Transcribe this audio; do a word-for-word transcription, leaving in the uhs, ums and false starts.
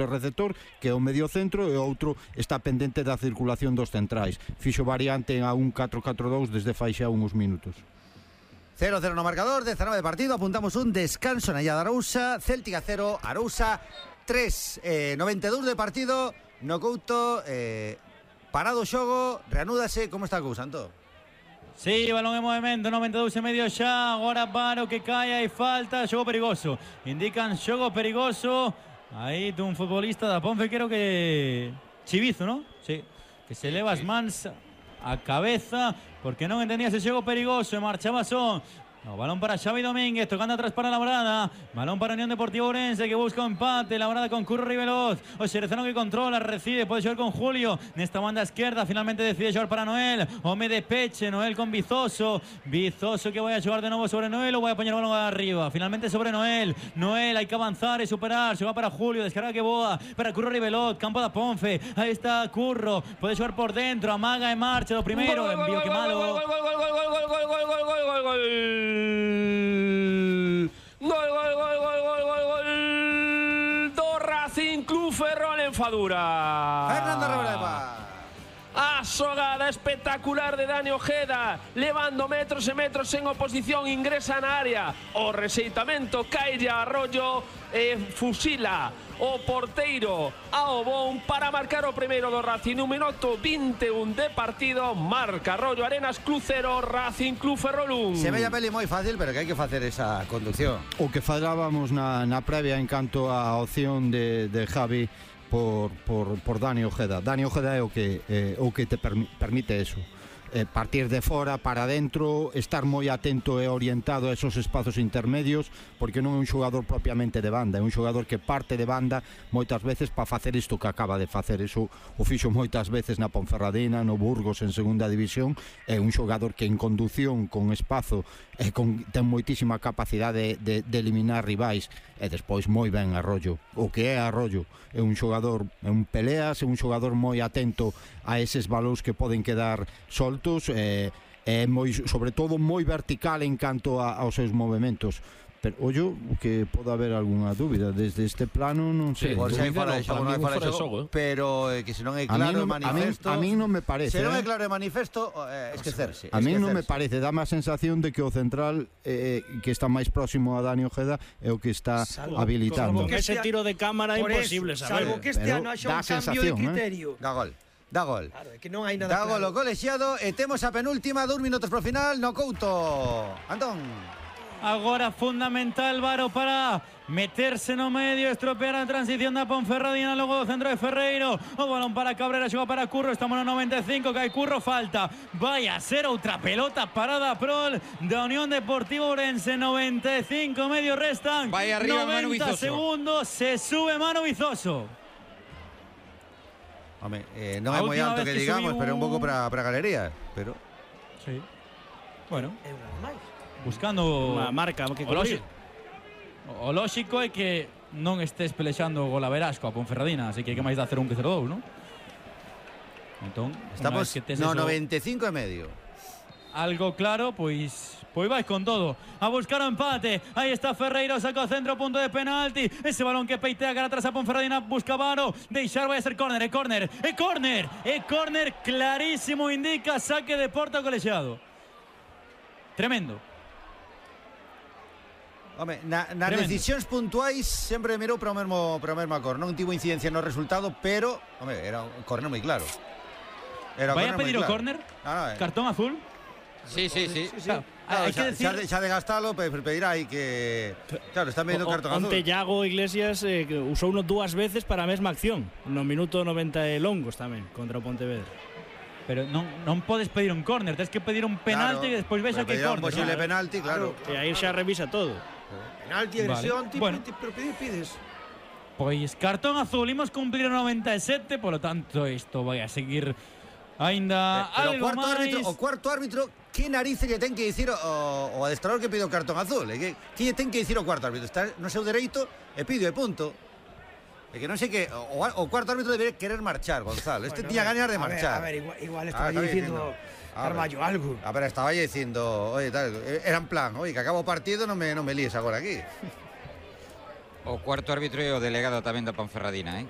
receptor, que é o medio centro, e o outro está pendente da circulación dos centrais. Fixo variante a un catro catro dous desde fai xa uns minutos. cero cero no marcador, dezanove de partido, apuntamos un descanso na illa de Arousa, Céltica cero, Arousa tres, eh, noventa e dous de partido, no Couto, eh, parado o xogo, reanúdase, como está a cousa, Antón? Sí, balón en movimento, noventa e dous e medio xa, agora para o que cae, hai falta, xogo perigoso, indican xogo perigoso. Aí dun futbolista da Ponfe, creo que Chivizo, ¿no? Sí, que se leva as mans a cabeza porque non entendía ese xogo perigoso e marchaba son. No, balón para Xavi Domínguez, tocando atrás para Labrada. Balón para Unión Deportiva Ourense, que busca un empate. Labrada con Curro Riveloz. O Xerezano que controla, recibe, puede xogar con Julio. Nesta banda esquerda, finalmente decide xogar para Noel. Home de peche, Noel con Vizoso. Vizoso que vai a xogar de novo sobre Noel, ou vai a poñer o balón arriba. Finalmente sobre Noel. Noel, hai que avanzar e superar. Xoga para Julio, descarga que boa. Para Curro Riveloz, campo da Ponfe. Aí está Curro, pode xogar por dentro. Amaga e marcha do primeiro. Envío que malo. Gol, gol, gol, gol, gol, gol, gol, gol, gol, gol, gol, gol. Gol, gol, gol, gol, gol, gol, gol do Racing Club Ferrol en Fadura. Fernando Rebreva. A xogada espectacular de Dani Ojeda, levando metros e metros en oposición, ingresa na área, o rexeitamento cae a Arroyo e fusila o porteiro ao bon para marcar o primeiro do Racing. Un minuto vinte e un de partido, marca Arroyo Arenas Club cero, Racing Club Ferrol un. Se ve a peli moi fácil, pero que hai que facer esa conducción. O que falábamos na, na previa en canto á opción de, de Javi por, por, por Dani Ojeda. Dani Ojeda é o que, eh, o que te permi, permite eso. Eh, partir de fora para dentro, estar moi atento e orientado a esos espazos intermedios, porque non é un xogador propiamente de banda, é un xogador que parte de banda moitas veces para facer isto que acaba de facer. Eso o fixo moitas veces na Ponferradina, no Burgos en segunda división. É un xogador que en condución, con espazo, e con, ten moitísima capacidade de, de, de eliminar rivais, e despois moi ben Arroyo. O que é Arroyo é un xogador, é un peleas, é un xogador moi atento a eses balóns que poden quedar soltos, e eh, moi, sobre todo moi vertical en canto a, aos seus movimentos. Pero ollo que pode haber algunha dúbida desde este plano, non sei. Sí, por se hai fora de xogo, non hai fora de xogo, pero eh, que se non é claro o manifesto. A min non me parece. Se non é eh? claro o manifesto, eh, esquecerse. A min non me parece, dá má sensación de que o central eh, que está máis próximo a Dani Ojeda é o que está salvo, habilitando. Con ese tiro de cámara imposible eso, saber. Salvo que este ano haxa un cambio de criterio. Eh? Da gol. Da gol. Claro, é que non hai nada da claro. gol o colexiado e temos a penúltima, dous minutos pro final no Couto. Antón. Agora fundamental Varo para meterse no medio, estropear a transición da Ponferradina, logo do centro de Ferreiro. O balón para Cabrera, xoga para Curro, estamos no noventa e cinco, cae Curro, falta. Vai a ser outra pelota parada prol da Unión Deportiva Ourense. Noventa e cinco medio restan. Vai arriba Manu noventa Vizoso. segundos, se sube Manu Vizoso. Home, eh, non é moi alto que, que digamos, un... pero un pouco para para galería, pero sí. Bueno, é unha máis. Buscando unha marca que o lógico, o lógico é que non estés pelexando o golaverás coa Ponferradina, así que que máis de hacer un que cero dous, non? Entón, estamos que tes no eso, noventa e cinco e medio. Algo claro, pois pois vais con todo a buscar o empate. Aí está Ferreiro, saca o centro, punto de penalti. Ese balón que peitea cara atrás a Ponferradina, busca Varo, deixar, vai a ser córner, é córner, é córner, é córner clarísimo, indica saque de porta colexiado. Tremendo. Home, na, nas Tremendo. decisións puntuais sempre mirou para o mesmo para o mesmo cor. Non tivo incidencia no resultado, pero, home, era un córner moi claro. Era vai a pedir o claro. córner? No, no, eh. Cartón azul? Sí, sí, sí. sí, sí. Claro, hay xa, que decir... xa, de, xa de gastalo, pues, pedirá aí que... Claro, está medindo cartón azul. Onte Iago Iglesias eh, usou uno dúas veces para a mesma acción, no minuto noventa e longos tamén, contra o Pontevedra. Pero non, non podes pedir un córner, tens que pedir un penalti, claro, e despois vexa que córner. Un posible claro. penalti, claro. claro. E aí xa revisa todo. Penalti, agresión, vale. Bueno, pero pides, pides. Pois cartón azul, imos cumplir o noventa e sete, polo tanto isto vai a seguir aínda pero algo o cuarto máis. Árbitro, o cuarto árbitro, que narices lle ten que dicir o, o adestrador que pide o cartón azul? Eh? Que, que lle ten que dicir o cuarto árbitro? Está no seu dereito e pide, e punto. É que non sei que o, o cuarto árbitro debería querer marchar, Gonzalo. Este bueno, tiña ganas de a marchar. Ver, a ver, igual, igual estaba ah, dicindo Carballo algo. A ver, estaba dicindo, oye, tal, era en plan, oye, que acabo o partido, non me, non me líes agora aquí. O cuarto árbitro e o delegado tamén da Ponferradina, eh?